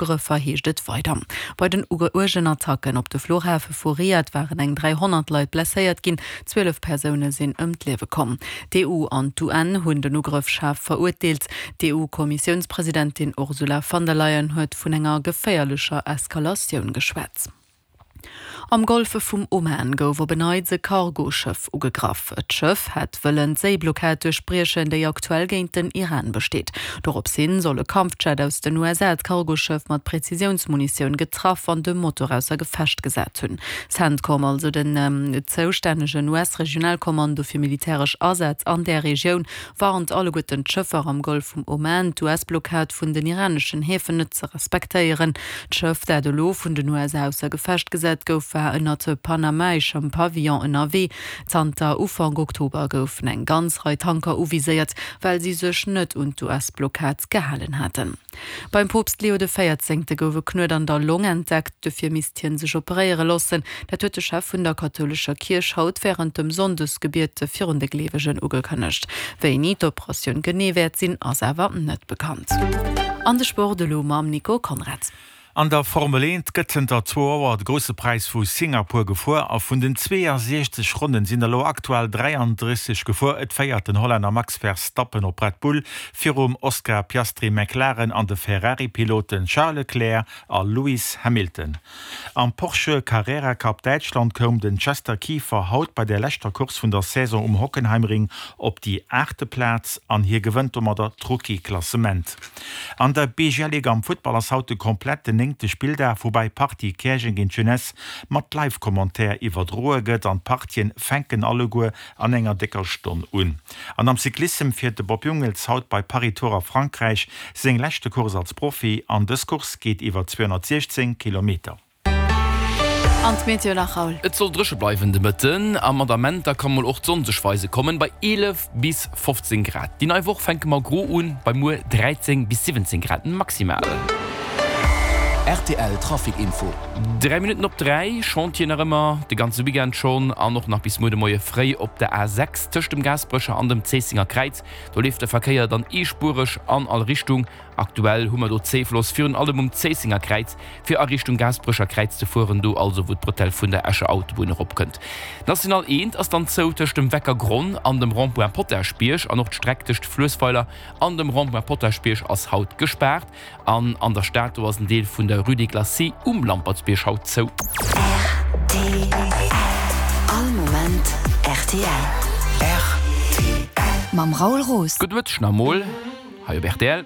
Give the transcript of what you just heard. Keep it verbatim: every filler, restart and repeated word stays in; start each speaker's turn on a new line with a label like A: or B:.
A: Ugrëffer, heescht et weider. Bei den uergen Attacken op de Fluchhafe vu Riad waren eng dräihonnert Leit blesséiert ginn, zwielef Persoune sinn ëm d'Liewe komm. D'EU an d'UN hunn den Ugrëff schaarf verurteelt. D'EU-Kommissiounspresidentin Ursula von der Leyen huet vun enger geféierlecher Eskalatioun geschwat. Am Golfe vum Oman gouf op en Neits e Cargoschëff ugegraff. D'Schëff hätt wëllen d'Séiblockad duerchbriechen, déi aktuell géint den Iran besteet. Dorops hin soll e Kampfjet aus den U S A d'Cargoschëff mat Prezisiounsmunitioun getraff an de Motor ausser Gefecht gesat hunn. CENTCOM, also den zoustännegen U S-Regionalkommando fir militäresch Asätz an där Regioun, warnt alleguerten d'Schëffer am Golf vum Oman, d'U S-Blockad vun den iraneschen Häfen net ze respektéieren. D'Schëff, dat elo vun den U S A ausser Gefecht gesat gouf, war ënnert panamaeschem Pavillon ënnerwee. Zanter Ufank Oktober goufen eng ganz Rei Tanker uviséiert, well si sech net un d'U S-Blockad gehalen haten. Beim Poopst Leo de Véierzéngte gouf e Knuet an der Long entdeckt, dofir misst hien sech operéiere loossen. Dat huet de Chef vun der kathoulescher Kierch haut wärend dem Sonndesgebiet virun de Gleewegen ugekënnegt. Wéini d'Operatioun genee wäert sinn, ass awer net bekannt. An de Sport elo mam Nico Conrad.
B: An der Formel eent gëtt zënter zwou Auer de Grousse Präis vu Singapur gefuer a vun den zweeësiechzeg Ronnen sinn der elo aktuell dräiandrësseg gefuer. Et féiert den Hollänner Max Verstappen op Red Bull virum Oscar Piastri, McLaren, an de Ferrari-Piloten Charles Leclerc a Lewis Hamilton. Am Porsche Carrera Cup Däitschland koum den Chester Kieffer haut bei der leschter Course vun der Saison um Hockenheimring op déi aachte Plaz an hie gewënnt domadder d'Rookie-Klassement. An der B G L Liga am Futtball ass haut de kompletten néngte Spilldag, woubäi d'Partie Käerjeng géint Jeunesse mat Live-Commentaire iwwerdroe gëtt an d'Partien fänken alleguer an enger décker Stonn un. An am Cyclissem fiert de Bob Jungels haut bei Paris-Tours a Frankräich seng leschte Course als Profi an dës Course geet iwwer zweehonnertsiechzéng Kilometer.
A: An d'Meteo nach, Raoul.
C: Et soll dréche bleiwen de Mëtten a mat Amenter ka mol och d'Sonn sech weise kommen, bei eelef bis fofzéng Grad. Déi nei Woch fänke mer gro un, bei muer dräizéng bis siwwenzéng Grad maximal.
D: R T L Trafic Info.
C: Dräi Minutten op dräi, Chantier nach ëmmer de ganze Weekend schonn an och nach bis muer de Moie fréi op der A sechs tëscht dem Gaasperecher an dem Zéissenger Kräiz. Do leeft de Verkéier dann eespuereg an all Richtung. Aktuell hu mer do Zéifloss virun allem um Zéissenger Kräiz fir a Richtung Gaasperecher Kräiz ze fueren, do also wou d'Bretelle vun der Escher Autobunn eropkënnt. D'National eent ass dann zou tëscht dem Weckergronn an dem Rond-point Potaschbierg an och d'Streck tëscht Fluessweiler an dem Rond-point Potaschbierg ass haut gespaart. An an der Stad do ass en Deel vun der Rue des Glacis um Lampertsbierg haut zou.
E: R T L. All Moment R T L.
F: R T L.
E: Mam Raoul Roos.
C: Gudde Mëtteg nach emol hei op R T L.